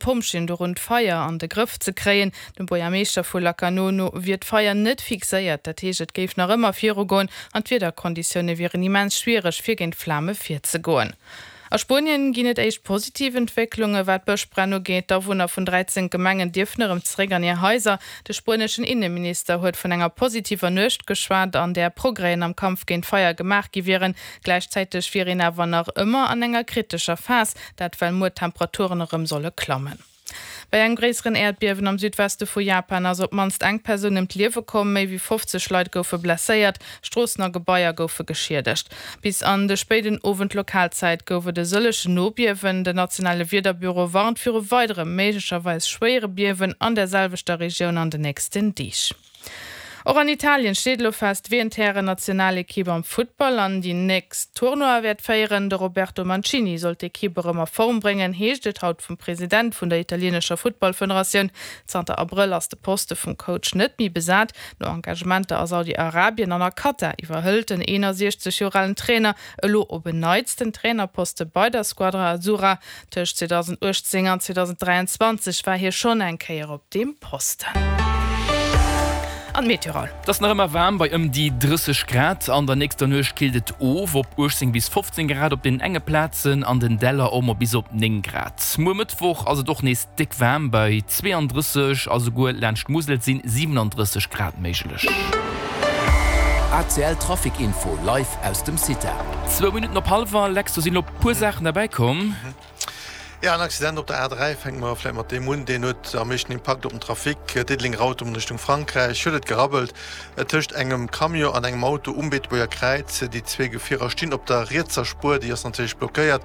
D'Pompjeeën dorun d'Feier an de Grëff ze kréien. Dem Buergermeeschter vu Lacanau no wier d'Feier net fixéiert, dat heescht et géif nach ëmmer virugoen an d'Wiederkonditioune wieren immens schwiereg fir géint d'Flame virzegoen. A Spuenien ginn et éischt positiv Entwécklunge wat d'Bëschbränn ugeet. D'Awunner vun 13 Gemengen dierfen erëm zeréck an hir Haiser. De spueneschen Inneminister huet vun enger positiver Nuecht geschwat, an där Progrèsen am Kampf géint d'Feier gemaach gi wieren. Gläichzäiteg wier een awer nach ëmmer an enger kritescher Phas. Dat well muer d'Temperaturen erëm solle klammen. Bei engem gréisseren Äerdbiewen am Südweste vu Japan ass op d'mannst eng Persoun ëm d'Liewe komm, méi wéi 50 Leit goufe blesséiert, Stroossen a Gebaier goufe geschiedegt. Bis an de spéiden Owend Lokalzäit gouf et e sëllegen Nobiewen. Den nationale Wiederbüro warnt viru weidere méiglecherweis schwéiere Biewen an der selwechter Regioun an den nächsten Deeg. Och an Italien steet elo fest, wien d'Hären-Nationalekipp am Futtball an déi nächst Tournoie wäert féieren. De Roberto Mancini soll d'Ekipp erëm a Form bréngen, heescht et haut vum President vun der italienescher Futtballfederatioun. Zanter Abrëll ass de Poste vum Coach net méi besat. No Engagementer a Saudi-Arabien an a Katar iwwerhëlt den 61 Joer alen Trainer elo op en Neits den Trainerposte bei der Squadra Azzurra. Tëscht 2018 an 2023 war hie schonn eng Kéier op deem Posten. An d'Meteo Raoul. Et ass nach ëmmer waarm bei ëm déi 30 Grad. An der nächster Nuecht killt et of op 18 bis 15 Grad op den enge Plazen, an den Däller och mol bis op 9 Grad. Muer Mëttwoch ass et och nees déck waarm bei 32 a souguer laanscht d'Musel sinn 37 Grad méiglech. ACL Trafic Info live aus dem CITA. Zwou Minutten op hallwer, Lex, do sinn elo puer Saachen derbäi komm. Jo, en Accident op der A3, fänke mer vläicht mat deem un, deen huet am meeschten Impakt op den Trafic. Diddeleng-Rautem an Richtung Frankräich huet et gerabbelt tëscht engem Camion an engem Auto um Beetebuerger Kräiz. Déi zwee Gefierer stinn op der rietser Spuer, déi ass natierlech blockéiert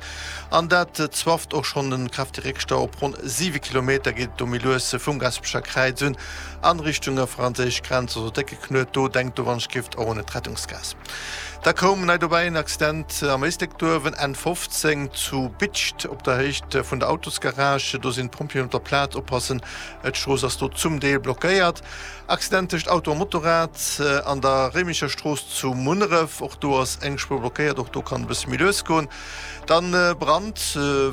an dat zwafft och schonn e kräftege Réckstau. Op ronn 7 Kilometer geet et do méi lues vum Gaspecher Kräiz un an Richtung franséisch Grenz, also décke Knuet do. Denkt do wann ech gift och un d'Rettungsgaass. Da koum nei dobäi en Accident am Éislek Duerwen, N 15 zu Bidscht op der Héicht vun der Autosgarage. Do sinn d'Pompjeeën op der Plaz. Oppassen, d'Strooss ass do zum Deel blockéiert. Accident tëscht Auto a Motorrad an der Réimecher Strooss zu Munneref. Och do ass eng Spuer blockéiert. Och do kann e bësse méi lues goen. Dann Brand,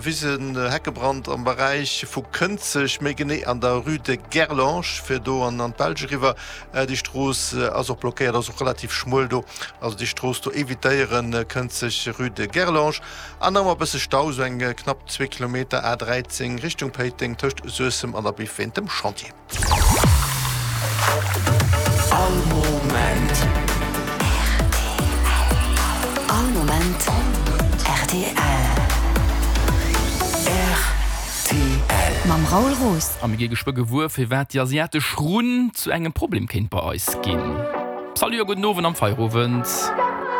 Wisen, Heckebrand am Beräich vu Kënzeg, méi genee an der Rue de Gerlange, fir do an d'Belsch eriwwer. Déi Strooss ass och blockéiert, ass och relativ schmuel do. Also déi Strooss do evitéieren, Kënzeg, Rue de Gerlange. An nach emol e bësse Stau, sou eng knapp zwee Kilometer A 13 Richtung Péiteng tëscht Suessem an der Biff wéint dem Chantier. All Moment. All Moment rtl. Rtl. Mam Raoul Roos. A mir gi geschwë gewuer, firwat déi asiatesch Runn zu engem Problem kéint bei eis ginn. Salut a gudden Owend am Feierowend.